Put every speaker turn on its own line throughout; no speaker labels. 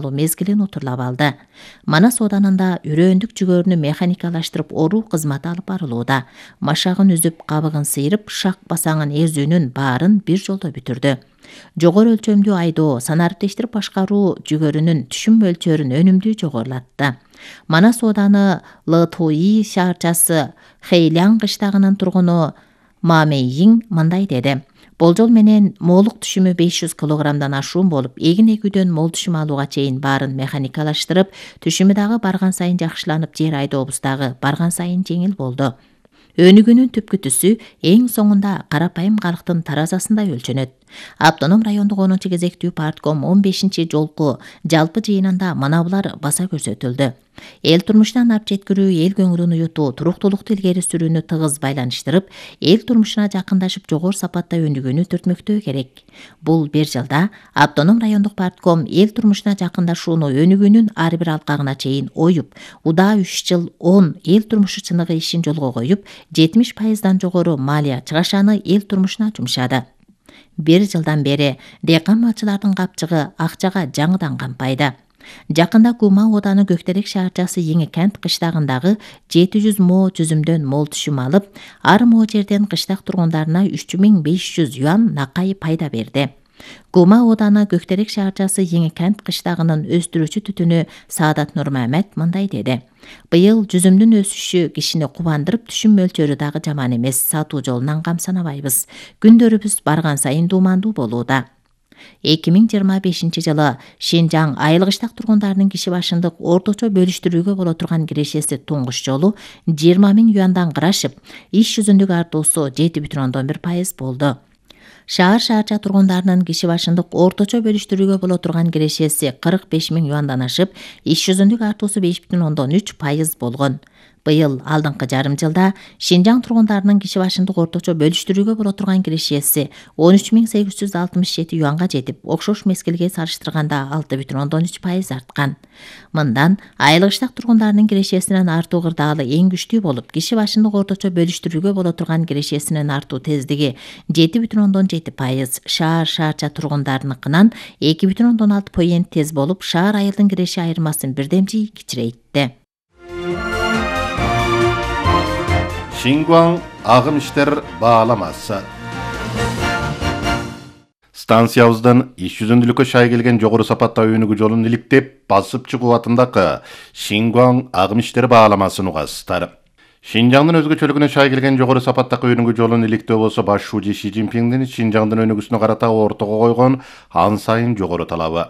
мезгилин утурлап алды. Манас Оданында үрөөндүк жүгөрүнү механикалаштырып оруу кызматы алып барылууда. Машагын үзүп, кабыгын сыйрып, шак басаңын эзүүнүн баарын бир жолдо бүтүрдү. Жогору өлчөмдүү айдоо, санариптештирип башкаруу жүгөрүнүн түшүм мөлчөрүн өнүмдүү жогорулатты. Манас Ооданы Лытуи шаарчасы Хэйлян кыштагынын тургуну Мамейин мындай деди. Болжол менен моолук түшүмү 500 килограммдан ашуун болуп, эгин эгүүдөн мол түшүм алууга чейин баарын механикалаштырып, түшүмү дагы барган сайын жакшыланып, жер айдообуз дагы барган сайын жеңил болду. Өнүгүүнүн түпкү түсү эң соңунда карапайым калктын таразасында өлчөнөт. Автоном райондук 10 кезектүү партком 15-жолку жалпы жыйынында мына булар баса көрсөтүлдү. Эл турмушунан ап жеткирүү, эл көңүлүн уютуу, туруктуулукту илгери сүрүүнү тыгыз байланыштырып, эл турмушуна жакындашып, жогору сапатта өнүгүүнү түртмөктөө керек. Бул бир жылда автоном райондук партком эл турмушуна жакындашууну өнүгүүнүн ар бир алкагына чейин оюп, удаа 3 жыл 10 эл турмушу чыныгы ишин жолго коюп, 70% жогору малия чыгашаны эл турмушуна жумшады. Bir жылдан бери дыйкан малчылардын капчыгы акчага жаңыдан кампайды. Жакында Кума Ооданы Көктерек шаарчасы Эңи кент кыштагындагы 700 мо жүзүмдөн мол түшүм алып, ар мо жерден кыштак тургундарына 3500 юан накай пайда берди. Кума Ооданы Көктерек шаарчасы Эңи кент кыштагынын өстүрүүчү түтүнү Саадат Нурмамет мындай деди. Быйыл жүзүмдүн өсүшү кишини кубандырып, түшүм мөлчөрү дагы жаман эмес, сатуу жолунан камсанабайбыз. Күндөрүбүз барган сайын дуумандуу болууда. 2025 жылы Шинжаң айыл кыштак тургундарынын киши башындык орточо бөлүштүрүүгө боло турган кирешеси туңгуш жолу 20 000 юандан кырашып, иш жүзүндүк артуусу 7,1% болду. Шаар-шаарча тургундарынын киши башындык орточо бөлүштүрүүгө боло турган кирешеси 45 000 юандан ашып, иш жүзүндүк артуусу 5,3% болгон. Быйыл алдыңкы жарым жылда Шинжаң тургундарынын киши башындык орточо бөлүштүрүүгө боло турган кирешеси 13.867 юанга жетип, окшош мезгилге салыштырганда 6,3% арткан. Мындан айыл кыштак тургундарынын кирешесинин артуу кырдаалы эң күчтүү болуп, киши башындык орточо бөлүштүрүүгө боло турган кирешесинин артуу тездиги 7,7%, шаар-шаарча тургундарыныкынан 2,6% тез болуп, шаар айылдын киреши айырмасын бирдемжи кичирейтти.
Шингуаң агым иштер бааламасы. Станциябыздан иш жүзүндүүлүккө шай келген жогору сапатта өнүгүү жолун иликтеп, басып чыгуу атындагы Шингуаң агым иштер бааламасын угасыздар. Шинжаңдын өзгөчөлүгүнө шай келген жогору сапаттагы өнүгүү жолун иликтөө болсо баш шууji Ши Цзиньпиңдин Шинжаңдын өнүгүүсүнө карата ортого койгон ан сайын жогору талабы.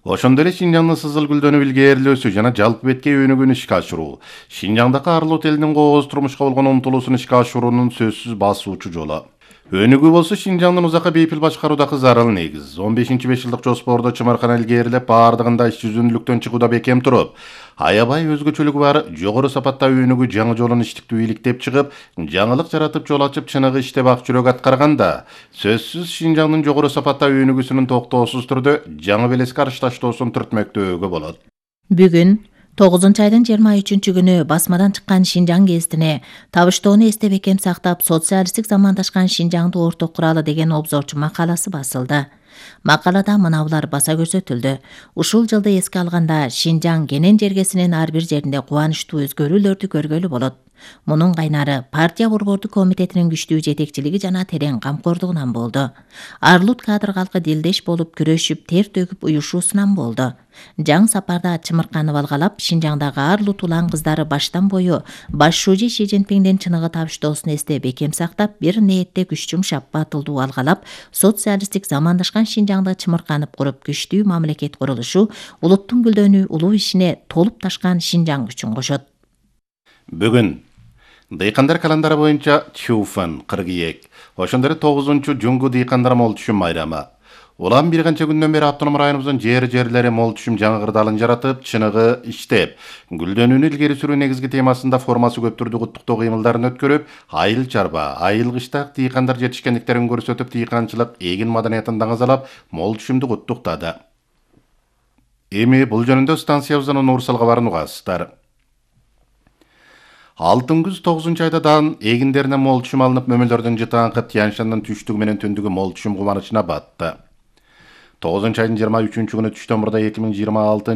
Ошондой эле Шинжаңдын сызыл гүлдөнүп илгерилөөсү жана жалпы беткей өнүгүүнү ишке ашыруу, Шинжаңдагы арлуу элдин кооз турмушка болгон умтулуусун ишке ашыруунун сөзсүз басуучу жолу. Өнүгүү болсо Шинжаңдын узакка бейпил башкаруудагы зарыл негиз. 15-5 жылдык жоспордо чымыркана илгерилеп, баардыгында иш жүзүндүүлүктөн чыгууда бекем туруп, аябай өзгөчөлүгү бар жогору сапатта өнүгүү жаңы жолун иштиктүү иликтеп чыгып, жаңылык жаратып жол ачып чыныгы иштеп ак жүрөк аткарганда, сөзсүз Шинжаңдын жогору сапатта өнүгүүсүнүн токтоосуз түрдө жаңы белеске арышташтоосун түртмөктөөгө болот.
Бүгүн 9-айдын 23-күнү басмадан чыккан Шинжаң гезитине табыштоону эсте бекем сактап, социалисттик замандашкан Шинжаңды орток куралы деген обзорчу макаласы басылды. Макалада мына булар баса көрсөтүлдү. Ушул жылды эске алганда Шинжаң кенен жергесинин ар бир жеринде кубанычтуу өзгөрүүлөрдү көргөлү болот. Мунун кайнары партия борбордук комитетинин күчтүү жетекчилиги жана терең камкордугунан болду. Арлут кадр калкы дилдеш болуп, күрөшүп, тер төгүп уюшуусунан болду. Жаң сапарда чымырканы балгалап, Шинжаңдагы арлут улан кыздары баштан бою баш шууji Ши Цзиньпиңдин чыныгы табыштоосун эсте бекем сактап, бир ниетте күч жумшап, батылдуу алгалап, социалисттик замандашкан Шинжаңды чымырканып куруп, күчтүү мамлекет курулушу, улуттун гүлдөнүү улуу ишине толуп ташкан Шинжаң күчүн кошот.
Бүгүн дыйкандар календары боюнча Чуфан, кыргыйек, ошондой эле 9-жуңгу дыйкандар мол түшүм майрамы. Улам бир канча күндөн бери автоном районубуздун жерлери мол түшүм жаңы кырдаалын жаратып, чыныгы иштеп, гүлдөнүүнү илгери сүрүү негизги темасында формасы көп түрдүү куттуктоо кыймылдарын өткөрүп, айыл чарба, айыл кыштак дыйкандар жетишкендиктерин көрсөтүп, дыйканчылык эгин маданиятын даңазалап, мол түшүмдү куттуктады. Эми бул жөнүндө станциябыздан Нуурсал кабарын угасыздар. Алтын күз 9-айдадан эгиндерине мол түшүм алынып, мөмөлдөрдүн жытаңкы Тянь-Шаньдын түштүгү менен түндүгү мол түшүм кубанычына батты. 9-айдын 23-күнү түштөн мурда 2026